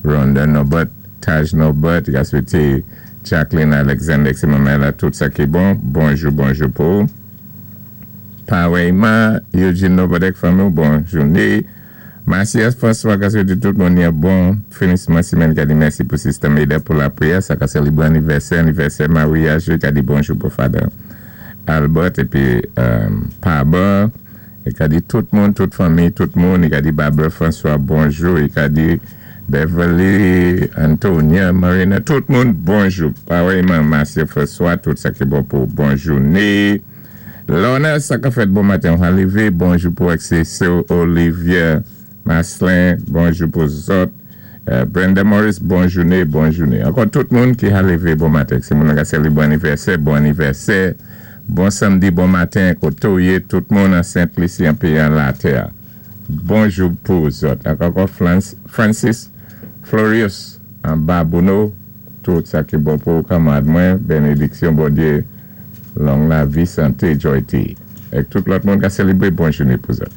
Rhonda Norbert, Taj Norbert, i ka swété Jacqueline Alexander, sé manman la, tout sa ki bon. Bonjou, bonjou pou. Pawèyman, Eugene Norbert èk fanmi, bon jouné. Macias François ka swété tout moun yon bon finisman simèn, ka di mèsi pou Sister Maida pou lapriyè, sa ka sélébwé anivèsè, anivèsè maryaj, ka di bonjou pou Father Albert épi Paba, i ka di tout moun, tout fanmi, tout moun, i ka di Barbara François bonjou, i ka di Beverly, Antonia, Marina, tout moun bonjou. Pawèyman, Macias François, tout sa ki bon pou bon jouné. Lorna, sa ka fèt bon maten, an lévé, bonjou pou Cécile Olivier Maslin, bonjou pou zòt. Brenda Morris, bon jouné, bon jouné. Ankò tout moun ki a lévé bon maten. Sé moun ki sélébré anivèsè, bon anivèsè. Bon samdi, bon maten, koté ou yé, tout moun an Sent Lisi, an péyi an latè. Bonjou pou zòt. Ankò Francis Florius, an Babouno, tout sa ki bon pou kanmad mwen, bénédiksyon Bondyé, long lavi, santé, joy. Èk tout lòt moun ka sélébré, bon jouné pou zòt.